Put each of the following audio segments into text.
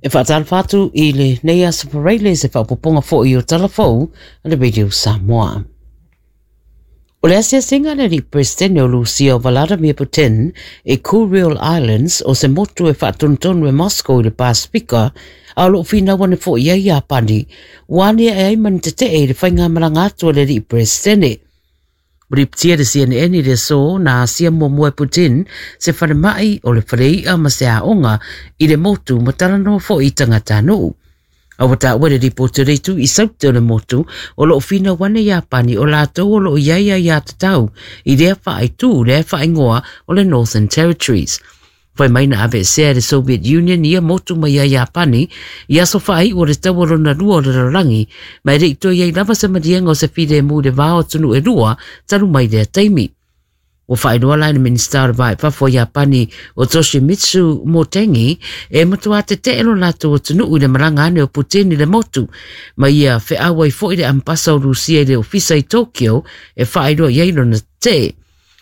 E faatalofa atu i lenei aso Faraile i se faaopoopoga foi o Tala Fou a le Radio Samoa. O le asiasiga a le alii Peresetene o Lusia o Vladimir Putin i Kuril Islands o se motu e faatonutonu e Moscow i le Pasefika a o lo o finau ane foi i ai Iapani, ua aniae ai ma ni tetee i le faigamalaga atu a le alii Peresetene. Ua lipotia e le CNN i le aso na asia muamua e Putin se falemai o le falei'a ma se aoga i le motu ma talanoa foi i tagatanuu. A ua taua i le lipoti o le itu i Saute o le motu o lo o finau ane Iapani o latou o lo o i ai aiatatau i lea faaitu lea e faaigoa o le Northern Territories. Fai mai na aveesea e le Soviet Union ia motu mai ia Iapani i aso faaiu o le Taua Lona Lua o le Lalolagi, ma e le i toe i ai lava se maliega o se filemu i le va o atunuu e lua talu mai lea taimi. Ua faailoa la e le Minisita o le Va i Fafo o Iapani o Toshimitsu Motegi e matuā tete'e lo latou atunuu i le malaga ane o Putin i le motu, ma ia feau ai foi le Ambasa o Rusia i le ofisa i Tokyo e faailoa i ai lona tete'e.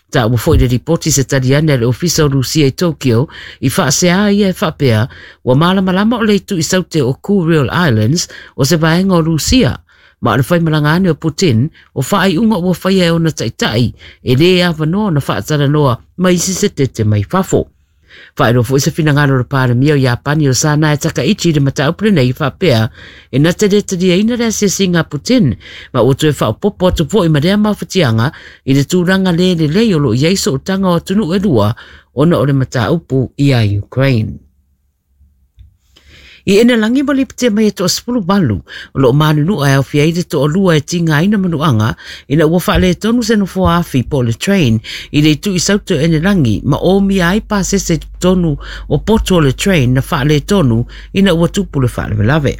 Taua foi le lipoti se tali ane a le Ofisa o Rusia i Tokyo i faasea ai ia e faapea ua malamalama o le itu i saute o Kuril Islands o se vaega o Rusia ma o le faimalaga ane o Putin o faaiuga ua faia e ona taitai e lē avanoa ona faatalanoa ma isi se tete mai fafo. Faailoa foi se finagalo o le Palemia o Iapani o Sanae Takaichi i le mataupu lenei e faapea e na te le taliaina le asiasiga a Putin ma ua toe faaopoopo atu foi ma lea mafatiaga i le tulaga le lelei o lo o i ai sootaga o atunuu e lua ona o le mataupu i a Ukraine. I Enelagi ua lipotia mai e toa 18 o lo o manunua e aofia ai le toalua e tigaina manuaga ina ua faaletonu se nofoa afi po o le train i le itu i Saute o Enelagi ma omia ai pasese i totonu o poto o le train na faaletonu ina ua tupu le faalavelave.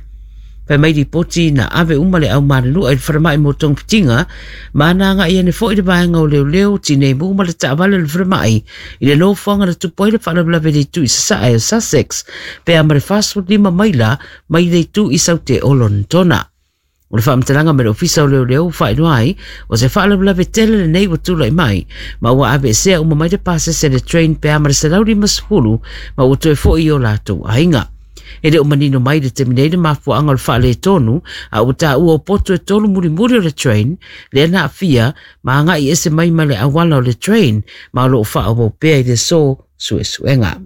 Fai mai lipoti na ave uma le au manunua i le falemai mo togafitiga ma na agai ane foi le vaega o leoleo, tinei mu ma le taavale o le falemai i le nofoaga na tupu ai le faalavelave i le itu i sasae o Sussex pe a ma le 45 maila mai le itu i saute o Lonetona. O le faamatalaga mai le Ofisa o Leoleo ua faailoa ai, o se faalavelave tele lenei ua tulai mai, ma ua aveesea uma mai le pasese le train pe a ma le 150 ma ua toe foi i o latou aiga. E le o manino mai i le taimi nei le mafuaaga o le faaletonu, a ua taua o poto e tolu mulimuli o le train lea na aafia ma agai ese mai ma le auala o le train ma o lo o faaauau pea i le aso suesuega.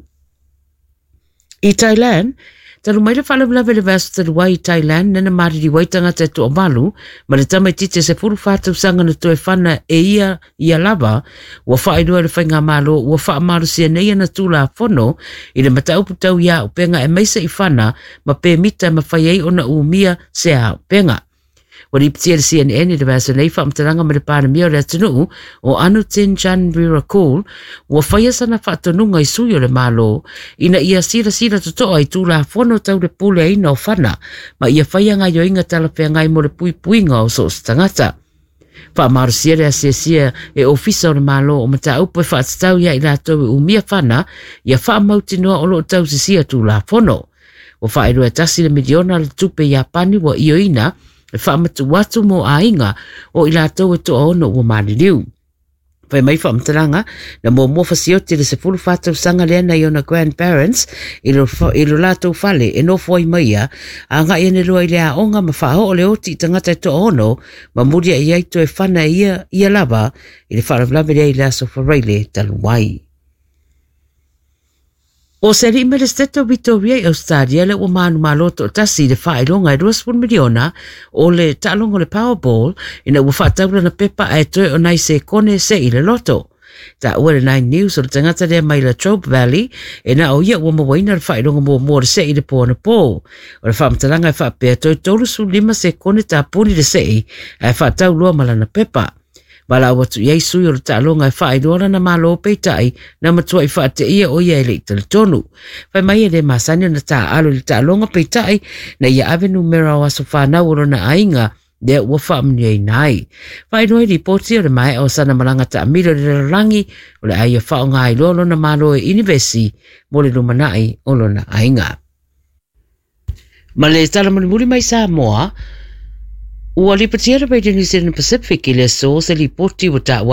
I Thailand, talu mai le faalavelave i le vaiaso talu ai i Thailand lea na maliliu ai tagata e toavalu ma le tamaitiiti e 14 tausaga na toe fana e ia ia lava, ua faailoa e le faigamalo ua faamalosia nei ana Tulafono i le mataupu tau i auupega aemaise i fana ma pemita e mafai ai ona umia se auupega. Ua lipotia e le CNN i le vaiaso nei faamatalaga ma le Palemia o le atunuu o Anutin Charnvirakul ua faia sana faatonuga i sui o le Malo ina ia silasila totoa i Tulafono tau le puleaina o fana ma ia faia gaioiga talafeagai mo le puipuiga o so o se tagata. Faamalosia le asiasia e Ofisa o le Malo o mataupu e faatatau iā i latou e umia fana ia faamautinoa o lo o tausisia Tulafono. Ua faailoa e tasi le miliona le tupe Iapani ua ioeina e faamatuu atu mo aiga o i latou e toaono ua maliliu. Fai mai faamatalaga, na muamua fasioti le 14 tausaga lea nai ona grandparents i lo, i lo latou fale e nofo ai mai ia, agai ane loa i le aoga ma faaoo le oti i tagata e toaono ma muliai ai toe fana e ia, ia lava i le faalavelave lea i le aso Faraile talu ai. O se alii mai le Setete o Vitoria i Ausetalia lea ua manumalo toatasi i le faailoga e 20 miliona o le taaloga o le Powerball ina ua faatau lana pepa ae toe o nai sekone se i le loto. Taua le Nine News o le tagata lea mai Latrobe Valley e na o ia ua mauaina le faailoga muamua o le sei i le po anapō. O le faamatalaga e faapea toe 35 sekone tapuni le sei ae faatau loa ma lana pepa. Valaau atu i ai sui o le taaloga e faailoa lana malo peitai na matuai faateia o ia e le i talitonu. Fai mai e le masani ona taaalo i le taaloga peitai na ia ave numera o aso fanau o lona aiga lea ua faamanuiaina ai. Faailoa i lipoti o le maea o sana malaga taamilo i le lalolagi o le a ia faaaoga ai loa lona malo e inivesi mo le lumanai o lona aiga. Ma le tala mulimuli mai Samoa, ua lipotia le Radio New Zealand Pacific i le aso se lipoti ua taua ai